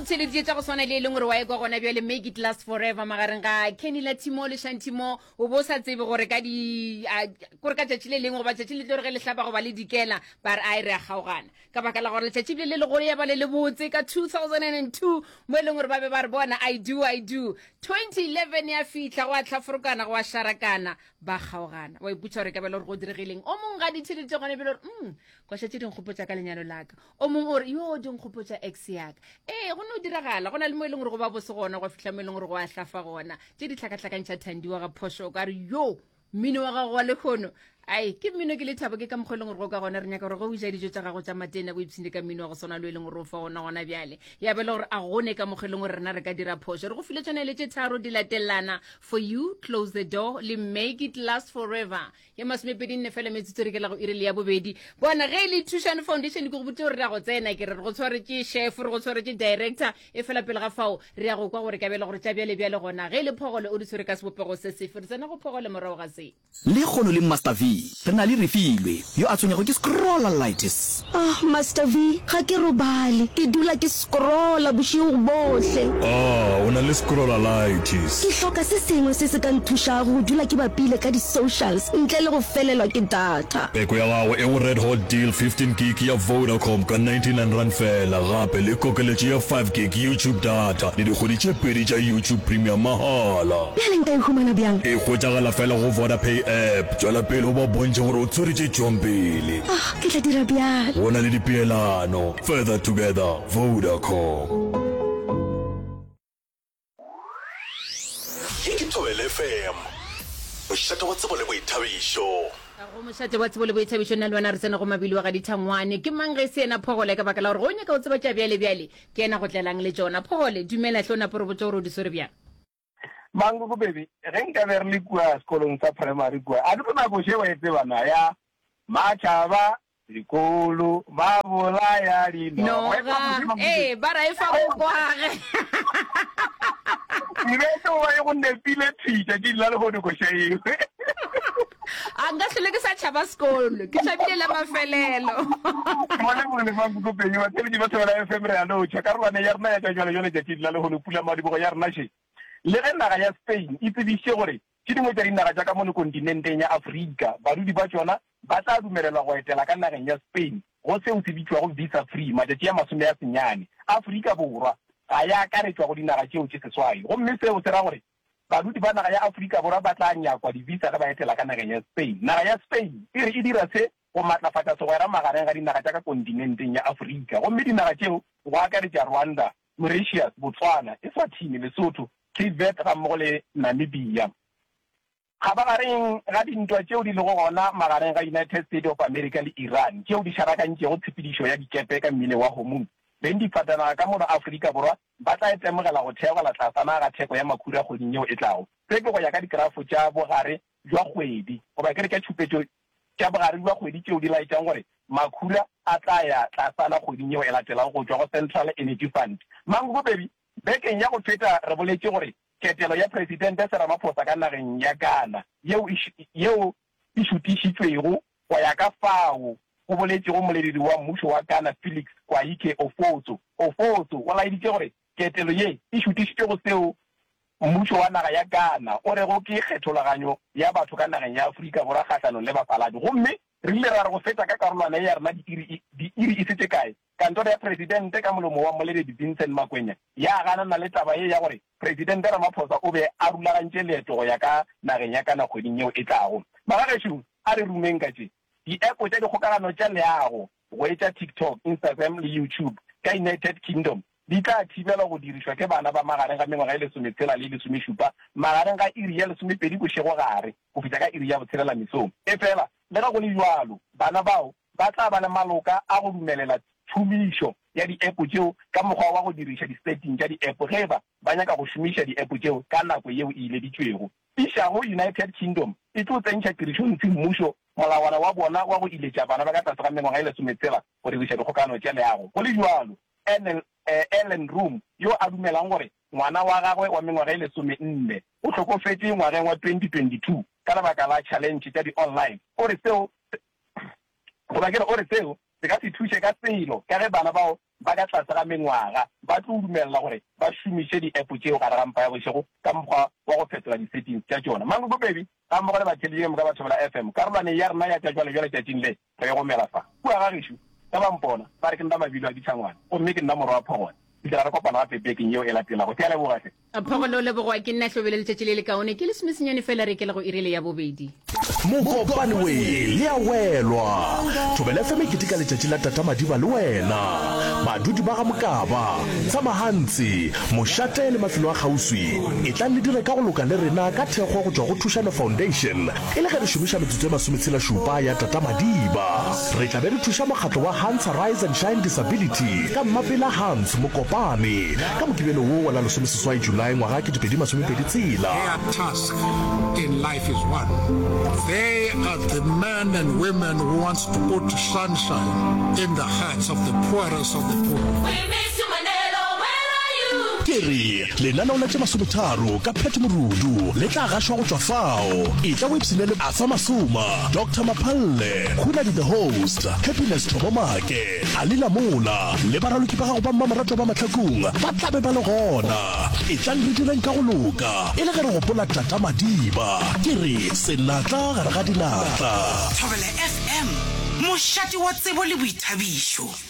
theleditše tša go swana le e leng gore wa ekwa gona bjale Make It Last Forever magareng ga Kenny Latimo le Shantimo. O bo sa tsebe gore ka di a, kore ka tšatši le lengwe goba tšatši le tlo re ge le hlaba goba le dikela ba re ai re a kgaogana ka baka la gore letšatši le le legolo ya ba le lebotse ka 2002 mo e leng gore ba be ba re bona I do I do. 2011 ya fihla go a hlaforokana go a šarakana ba kgaogana. Wa ipotša gore e ka ba le gore go diregileng. O mongwe ga di theleditše gona bjale gore mm koša tše di nkgopotša ka lenyalo laka. O mongwe o re yo di nkgopotša ex yaka. Ee go no diragala go na le mo e leng gore go ba bose gona gwa fihla mo e leng gore go a hlafa gona. Tše di hlakahlakantšha Thandi wa ga phošo o ka re yo mmino wa gago wa lehono ai ke mmino ke lethabo ke ka mokgwa e leng gore go ka gona re nyaka gore ge o ja dijo tša gago tša matena o ipshine ka mmino wa go swana le e leng gore o fa ona gona bjale ya be le gore a gone ka mokgwa e leng gore rena re ka dira phošo re go file tšona le tše tharo di latelana for you close the door le make it last forever ya masomepedi nne fela metsotso re ke la go iri le ya bobedi bona ge e le thušane foundation ke go botse gore re ya go tsena ke re re go tshwaretše chef re go tshwaretše director E fela pele ga fao, re ya go kwa gore kabelo gore tša bjale bjale gona ge e le phogole o di tshwere ka sebopego se sefe. Re tsena go phogole morago ga se. Lekgono le Master V, re na le Refilwe, yo a tshwenyago ke scrollalitis. Ah, Master V, ga ke robale. Ke dula ke scrolla bošego bohle. Ah, o na le scrollalitis. Ke hloka se sengwe se se ka nthušago go dula ke bapile ka di-socials ntle le go felelwa ke data. Peko ya gago e go Red Hot Deal 15 gig ya Vodacom ka R99 feela, gape le kokeletšo ya 5 gig YouTube data le dikgwedi tše pedi tša YouTube Premium mahala. Bjale nka e humana bjang? E hwetšagala feela go Vodapay app. Tšwela pele o ba bontšhe gore o tshwere tše tšwang pele. Ah, ke tla dira bjalo. Go na le dipeelano. Further together, Vodacom. Ye ke Thobela FM, mošate wa tsebo le boithabišo. Go mošate wa tsebo le boithabišo, nna le wena re tsena go mabili wa ga Dithangwane. Ke mang ge e se yena Phogole? Ka baka la gore ge o nyaka go tseba tša bjale bjale, ke yena go tlelang le tšona. Phogole, dumela hle o nape o re botše gore o di swere bjang. Mankoko baby, ge nka be re le kua sekolong sa primary kua, a ke tlo nako še wa e tseba na ya Matšhaba Dikolo ba bolaya dinoga. Noga, ee, ba ra e fa bokwage. E be e tlo ba e go nepile thwi tšatšing la lehono koša eo. A nka hlole ke sa tšhaba sekolo, ke tšhabile la mafelelo. Mo lebogile Mankoko Penny, batheeletši ba Thobela FM re a lotšha. Karolwana ya rena ya tša bjalo-bjalo tšatšing la lehono, pulamadibogo ya rena še. Le ge naga ya Spain e tsebišitše gore tše dingwe tša dinaga tša ka mono kontinenteng ya Afrika badudi ba tšona ba tla dumelelwa go etela ka nageng ya Spain go seo se bitšwago visa free matšatši a masomeasenyane. Afrika Borwa ga ya akaretšwa go dinaga tšeo tše seswai gomme seo se ra gore badudi ba naga ya Afrika Borwa ba tla nyakwa di-visa ge ba etela ka nageng ya Spain. Naga ya Spain e re e dira se go matlafatša segwera magareng ga dinaga tša ka kontinenteng ya Afrika gomme dinaga tšeo go akaretša Rwanda, Mauritius, Botswana, Eswatini, Lesotho, Cape Verde gammogo le Namibia. Kgabagareng ga dintwa tšeo di lego gona magareng ga United States of America le Iran tšeo di šarakantšego tshepedišo ya dikepe ka mmileng wa Hormuz, bengdifatanaga ka mono Afrika Borwa ba tla itemogela go theogela tlasana ga theko ya makhura kgweding yeo e tlago. Se ke go ya ka dikerafo tša bogare bjwa kgwedi goba ke re tša tšhupetšo tša bogare bjwa kgwedi tšeo di laetšang gore makhura a tla ya tlasana kgweding yeo e latelago go tšwa go Central Energy Fund. Mangobobedi, bekeng ya go feta re boletše gore Ketelo ya Presidente se Ramaphosa ka nageng ya Ghana yeo yeo e šutišitšwego go ya ka fao go boletšego moleledi wa mmušo wa Ghana Felix Kwahike Ofoso. Ofoso o laeditše gore ketelo ye e šutišitšwe go seo mmušo wa naga ya Ghana o rego ke kgethologanyo ya batho ka nageng ya Afrika Borwa kgahlanong le bafaladi gomme re ile ra re go fetša ka karolwana ye ya rena diiri diiri e se tše kae Kantoro ya Presidente ka molomo wa Mmoleledi Vincent Makwenya ya ganana le taba ye ya gore Presidente Ramaphosa o be a rulagantše leeto go ya ka nageng ya Kana kgweding yeo e tlago. Magagešo, a re rumeng ka tše. Di-app tša dikgokagano tša leago go etša TikTok, Instagram le YouTube ka United Kingdom di tla thibelwa go dirišwa ke bana ba magareng ga mengwaga e lesometshela le e lesomešupa magareng ga iri ya lesomepedi bošegogare go fihla ka iri ya botshelela mesong. Efela, le ge go le bjalo, bana bao ba tla ba le maloka a go dumelela tšhomišo ya di-app tšeo ka mokgwa wa go diriša di-setting tša di-app ge e ba ba nyaka go šomiša di-app tšeo ka nako yeo e ileditšwego. Išago United Kingdom e tlo tsentšha tirišong semmušo molawana wa bona wa go iletša bana ba ka tlase ga mengwaga e lesometshela go diriša dikgokagano tša leago. Go le bjalo, Ellen Room, yo a dumelang gore ngwana wa gagwe wa mengwaga e lesomenne o hlokofetše ngwageng wa 2022 ka lebaka la challenge tša di-online, o re seo goba ke re o re seo. se ka se thuše ka selo ka ge bana bao ba ka tlase ga mengwaga ba tlo dumelela gore ba šomiše di-app tšeo gare ga mpa ya bošego ka mokgwa wa go fetola di-settings tša tšona. Mankoko Baby gammogo le batheeletši ka moka ba Thobela FM, karolwaneng ya rena ya tša jwalejwale tšatšing le, re e gomela fa. Kua ga gešo, ge ba mpona, ba re ke nna Mabilo a Ditšhangwana, gomme ke nna morwa wa Phogole. Fihlela re kopana gape bekeng yeo e latelago. Ke a leboga hle. Phogole o lebogwa ke nna Hlobele letšatši le lekaone. Ke lesomesenyane fela re ikela go iri le ya bobedi. Mokopane we le a welwa. Thobela FM e keteka letšatši la Tata Madiba le wena. Badudi ba ga Mokaba, Tsamahantsi, Mošate le mafelo a kgauswi, etlang le dire ka go loka le rena ka thekgo go tšwa go Thušano Foundation e le ge re šomiša metsotso e masometshela-šupa ya Tata Madiba. Re tla be re thuša mokgatlo wa Hans Rise and Shine Disability ka Mmapela Hans Mokopane ka Mokibelo wo wa la lesomeseswai Julae ngwaga 2026. Their task in life is one, they are the men and women who wants to put sunshine in the hearts of the poorest of the poor. We miss you Manelo, where are you? Ke re, lenaneo la tše masometharo ka Pat Morudu le tla gašwa go tšwa fao. Etla o ipshine le Arthur Masoma, Doctor Maphalle, Khunadi the Host, Happiness Thobo Make, Ali Lamola le baraloki ba gago ba mmamoratwa ba Mahlakung ba tla be ba le gona. Etlang re direng ka go loka e le ge re gopola Tata Madiba. Ke re, senatla gare ga dinatla. Thobela FM, mošate wa tsebo le boithabišo.